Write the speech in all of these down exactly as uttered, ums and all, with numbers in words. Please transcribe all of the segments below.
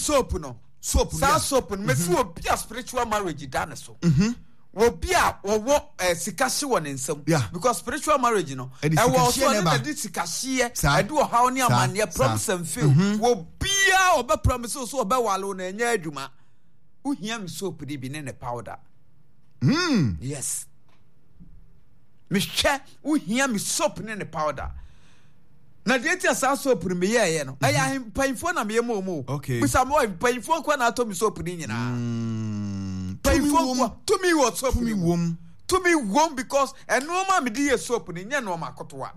soap no, Soap no, saa yeah. soap no, mesi obi a spiritual marriage da ne so, obi a wɔwɔ eh, sika hye wɔ ne nsam, Yeah. because spiritual marriage no Ɛde ɛwɔ sikahyeɛ so na ɔne ɛba. na de sikahyeɛ Saa. ɛde ɔhaw ne Saa. amanneɛ, Saa. promise and fail. Obiaa ɔbɛ promise wo so ɔbɛwale wo na ɛnyɛ adwuma, wohia me soap de bi ne ne powder. Mm. Yes, mehwɛ, wohia me soap ne ne powder. Na deɛ ti a saa soap no meyɛɛyɛ no, ɛyɛ ahe- mpanyinfoɔ na meyɛ ma ɔmo o. Okay. Bisa me wɔ mpanyinfoɔ nkoa na atɔ me soap no nyinaa. Mm. Tumi Mpanyinfoɔ wom. nkoa tumi wɔ soap Tumi no mu. wom. Tumi wom because ɛnoɔma a mede yɛ soap no nyɛ nnoɔma kotoa.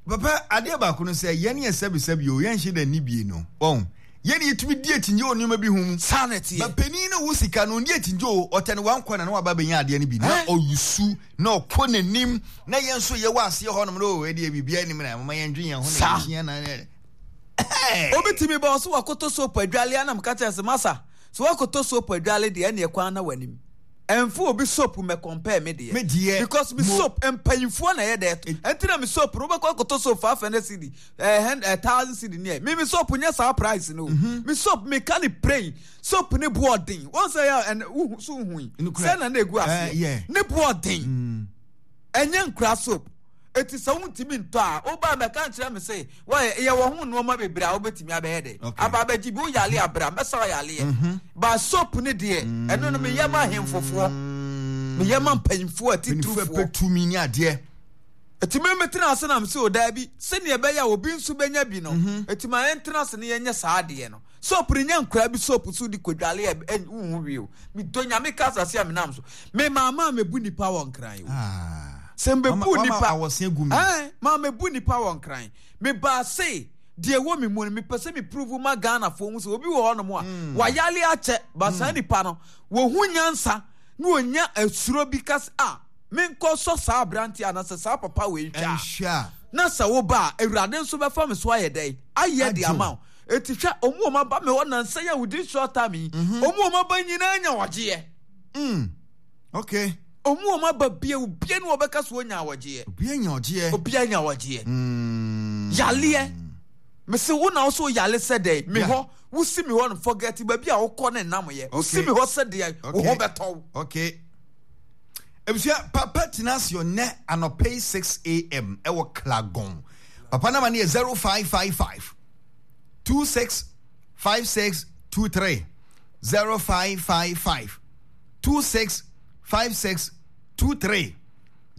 Papa, adeɛ baako no sɛ yɛne yɛ sɛbesɛbe o, yɛnhyɛ da nni bie no wɔn yɛne yɛtumi di akyingye wɔ nneɛma bi ho mu. Saa na ɛteɛ. Ba panin no wo sika no ɔndi akyingye o, ɔtɛ ne wankɔ na na waba bɛnya adeɛ no bi na Eh? ɔyusu na ɔkɔ n'anim, na yɛn nso yɛwɔ aseɛ hɔnom no o, ɛdeɛ biribiara anim na moma yɛndwe yɛn ho na Saa. yɛhyia na ɛ- Obi tumi ba ɔso wakɔtɔ soap adwale anam ka kyerɛ sɛ, "Masa, sɛ wakɔtɔ soap adwale deɛ, ɛneɛ kwan na w'anim ɛmfa obi soap mɛ compare me deɛ." Me deɛ, because me mo- soap, mpanyinfoɔ na ɛyɛ dɛ to, ɛnti na me soap no, wobɛkɔ akɔtɔ soap five hundred cedi, ɛɛ ɛ thousand cedi ne ɛ, me me soap nyɛ saa price no o. Me soap, me ka ne plain soap ne bu ɔden wɔn sɛ yɛ ɛn wohu so hu yi Nokorɛ. sɛ na na egu Eh, aseɛ yeah. ne bu ɔden, ɛnyɛ nkura soap. Eti sɛ wontumi ntɔ a, woba mɛka nkyerɛ me sɛ wɔyɛ yɛwɔ ho nneɛma bebree a wobɛtumi abɛyɛ dɛ Okay. aba abɛgye bi. Woyale abra, mɛsa ɔyaleɛ ba. Soap ne deɛ, ɛno no meyɛ ma ahemfofoɔ, meyɛ ma mpanyimfoɔ mpanyinfoɔ atiturufoɔ. Pɛ tumi ne adeɛ. Ɛti me metena ase nam sɛ ɔdaa bi sɛnea ɛbɛyɛ a obi nso bɛnya bi no, ɛti ma yɛntena ase ne yɛnyɛ saa adeɛ no. Soap no nyɛ nkora bi soap so de kodwale a ɛ- wohu hwee o. Medɔ Nyame ka asase a menam so, me maama a mebu nipa wɔ Nkran o. Ah. Sɛ mbɛbu Wama- wama nipa awɔse gu mi. Ɛn, maa mebu nipa wɔ Nkran, mebaa se deɛ ɛwɔ me mu no, mepɛ sɛ me prove ma Ghanafoɔ hu sɛ obi wɔ hɔnom a wayale akyɛ ba, saa nipa no wɔhu nyansa na wɔnya asuro bi ka sɛ a menkɔ sɔ saa aberanteɛ anaasɛ saa papa wei nhwɛ a ɛnhwɛ a na sɛ woba a, Awurade nso bɛfa me so ayɛ dɛn ayɛ de Agye wo. ama wo. Eti hwɛ, ɔmu ɔmo aba me hɔ nansa yi a within short time yi, ɔmu ɔmo aba nyinaa nya wɔgyeɛ. Mm. okay Ɔmu ɔmo aba bie, obia ne wɔbɛka so onya awɔgyeɛ. Obi anya ɔgyeɛ. Obia nya awɔgyeɛ. Mm. Yaleɛ, mese wo na wo so yale sɛ dɛn me Yeah. hɔ, wosi me hɔ no, forget baabi a wokɔ ne nam yɛ, wosi Okay. me hɔ sɛ deɛ wo ho Okay. bɛtɔ wo. Okay, ebusua, papa tena ase ɔnɛ anɔpɛ yi six a m ɛwɔ Klagon. Papa nama no yɛ zero five five five two six five six two three, zero five five five two six five six two three,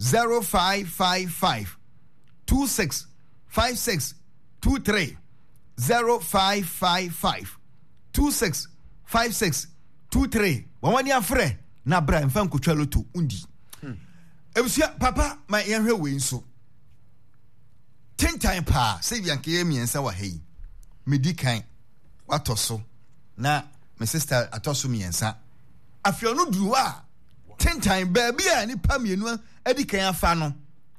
zero five five five two six five six two three, zero five five five two six five six two three. Wɔn wani afrɛ na bra nfa nkotwa loto undi. Ebusua, papa, ma yɛnhwɛ wei nso tentan paa sɛ bi anka yɛ mmiɛnsa wɔ ha yi, medi kan, watɔ so, na me sister atɔ so mmiɛnsa. Afei ɔno duru hɔ a, tentan baabi a nipa mmienu adi kan afa no,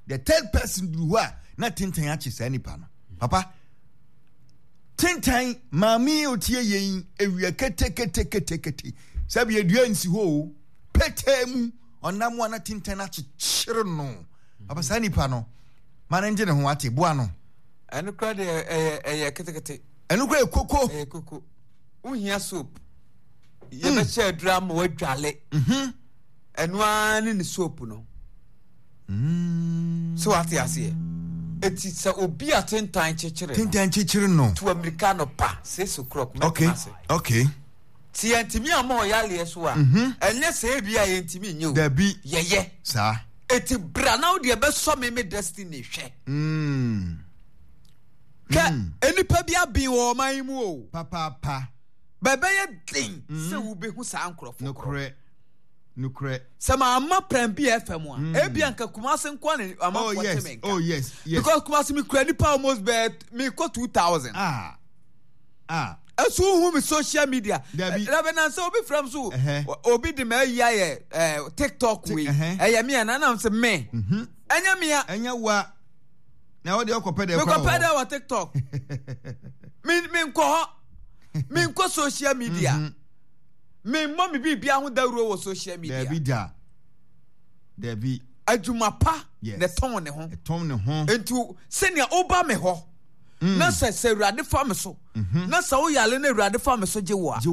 the third person duru hɔ a, na tentan akye saa nipa no. Papa, tentan maame yi otie yɛn ewia keteketekete sɛbi edua nsi hɔ o, petee mu ɔnam a na tentan akyekyere no. Papa, saa nipa no, ma ne ngye ne ho ate boa no. Ɛno kora deɛ, ɛyɛ ɛyɛ ketekete. Ɛno kora yɛ koko. Ɛyɛ koko. Wohia soap, yɛbɛhyɛ aduru ama wadwale. Ɛno ara ne ne soap no sɛ wate aseɛ. Eti sɛ obi a tentan kyekyere no, tentan kyekyere no, tu amirika no pa six o'clock okay mɛtena ase. Okay ti yɛntumi ama ɔyaleɛ so a, ɛnyɛ sɛ ebi a yɛntumi nye o. Dabi. Yɛyɛ. Saa. Eti bra na wo deɛ bɛsɔ me me destiny hwɛ. Mm. Hwɛ, enipa bi aben wɔ ɔman yi mu o. Papaapa. Bɛbɛyɛ den sɛ wobɛhu saa nkurɔfoɔ korɔ. Nokorɛ, nokorɛ. Sɛ maama Prime bi F M a, ebi anka Kumase nkoa ne oh amanfoɔ te yes me nka. oh yes yes Because Kumase mi kura nipa almost bɛɛ mi kɔ two thousand. Ah ah. Ɛso hu mi social media. Dabi. Dabi, na sɛ obi fira mi so, Ɛhɛ. obi de ma ayi ayɛ ɛɛ TikTok wei, ɛhɛ. ɛyɛ mi a nanam sɛ me ɛnyɛ mi a. Ɛnyɛ wa na wɔde ɔkɔpɛ dɛ. Mekɔpɛ dɛ wɔ TikTok? mi mi nkɔ hɔ, mi nkɔ social media, mi mmɔ mi biribi ho dawuro wɔ social media. Dabi da, dabi. Adwuma pa Yes. na ɛtɔn ne ho. Ɛtɔn ne ho. Nti sɛnea woba me hɔ na sɛ sɛ Awurade fa me so na sɛ woyale na Awurade fa me so gye wo a. Gye.